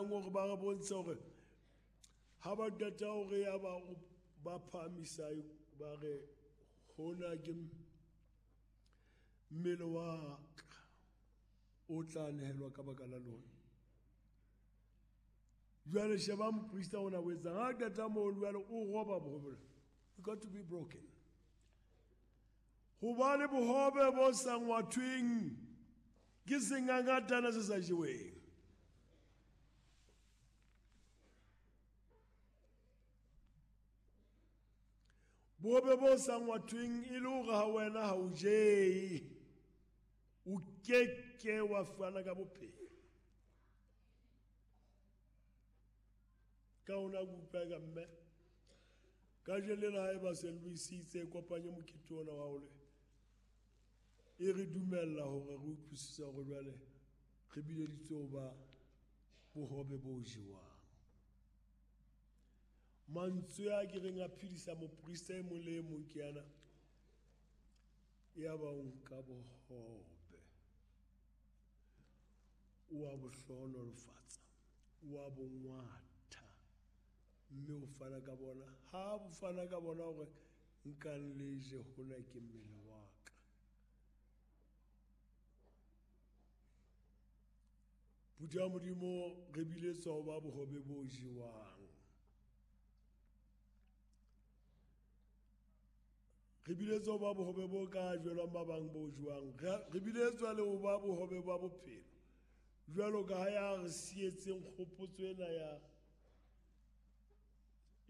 batlang hore ba re bontshe hore ha ba qeta hore ya ba ba phahamisa ba re hona ke mmele wa ka o tla nehelwa ka baka la lona. Jwale sheba moprista ona o etsang ha qeta moo jwale o roba bohobe. You got to be broken. Hobane bohobe bo sa ngwathweng ke sengangatana se sa jeweng. Bohobe bo sa ngwathweng e le hore ha wena ha o jee, o keke wa fana ka bophelo. Ka ona ke utlwa ka mme kajeno lena ha eba St. Louis itse kopanye mokete ona wa hore e re dumella hore re utlwisise hore jwale re bileditswe ho ba bohobe bo jewang. Mantswe a ke reng a phedisa moprista e mong le e mong ke ana, ya ba o nka bohobe o a bo hlohonolofatsa, o a bo ngwatha, mme o fana ka bona. Ha bo fana ka bona hore nkang le je, hona ke mmele wa ka. Phutheho ya Modimo, re biletswa ho ba bohobe bo jewang. Re biletswa ho ba bohobe bo ka jwelwang ba bang bo jewang. Re biletswa le ho ba bohobe ba bophelo. Jwalo ka ha ya re sietseng kgopotso ena ya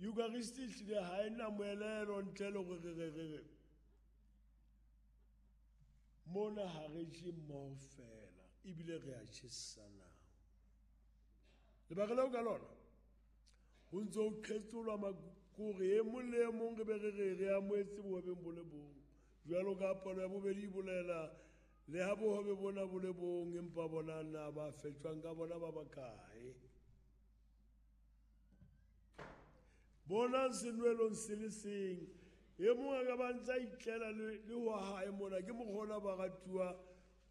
Eucharist ehlile ha ena moelelo ntle le hore re re re mona ha re je mmoho fela, ebile re a tjhesana. Lebaka leo ka lona ho ntse ho qhetsolwa makore e mong le e mong re be re re re amohetse bohobeng bo le bong. Jwalo ka palo ya bobedi e bolela, le ha bohobe bona bo le bong, empa bona na ba fetjwang ka bona ba bakae? Bonang senwelong se le seng, e mong a ka ba ntse a itlela le wa hae mona. Ke mokgona ba ratuwa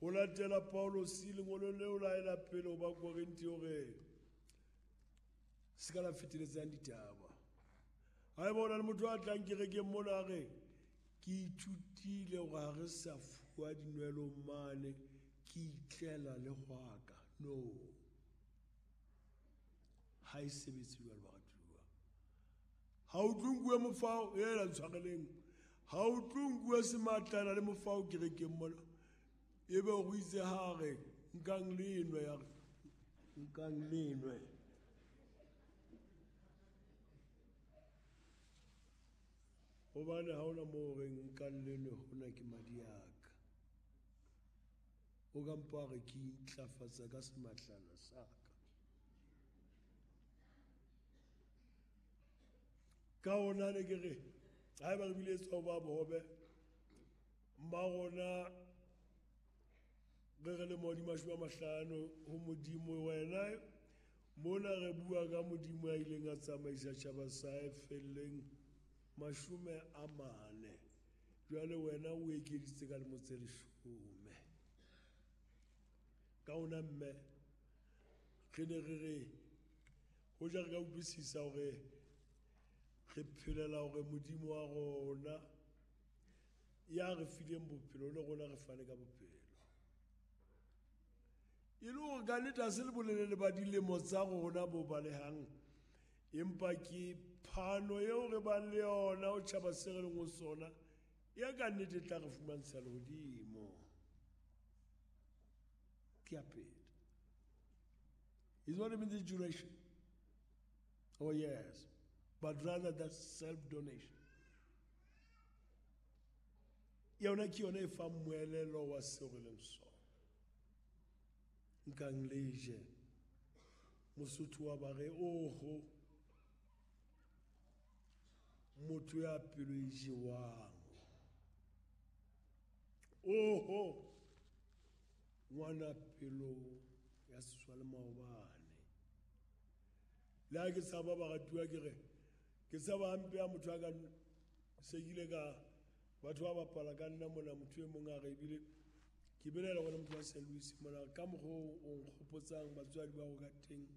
ho latela Paulosi lengolong leo la hae la pele ho ba Korinthe hore se ka la feteletsang ditaba. Haeba ho na le motho a tlang kerekeng mona a re ke ithutile hore ha re sa fuwa dinwelo mane, ke itlela le hwaka. No, ha e sebetse jwalo baratuwa. Ha o tlo nkuwe mofao, ela ntshwareleng. Ha o tlo nkuwe sematlana le mofao kerekeng mona, ebe o itse ha re nkang le nwe, ya re nkang le nwe. Hobane ha hona moo re nkang le nwe, hona ke madi a ka. O ka mpa re ke intlafatsa ka sematlana sa ka. Ka hona ne ke re, haeba re biletswa ho ba bohobe, mma rona re re le modi 50 ho Modimo wena, mona re bua ka Modimo ya ileng a tsamaisa tjhaba sa hae felleng 40. Jwale wena o ekeditse ka lemo tse 10. Ka hona mme, re ne re re, hoja re ka utlwisisa hore re phelela hore Modimo wa rona ya re fileng bophelo le rona re fane ka bophelo. E le hore ka nnete ha se le bolelele ba dilemo tsa rona bo balehang, empa ke phano eo re bang le yona ho tjhaba se re leng ho sona, ya ka nnete e tla re fumantsha lehodimo. Ke ya pele. It's not even the duration. Oh yes, but rather that self-donation. Yona ke yona e fang moelelo wa seo re leng sona. Nkang le je, Mosotho wa ba re, oho, motho ya pelo e jewang. Oho, ngwana pelo ya seswa le maobane. Le ha ke tshaba baratuwa ke re, ke tshaba hampe ya motho a ka se kile ka batho ba bapala ka nna mona, motho e mong a re ebile ke belaela hore motho wa St. Louis mona ka mokgwa o nkgopotsang batswadi ba go ka teng.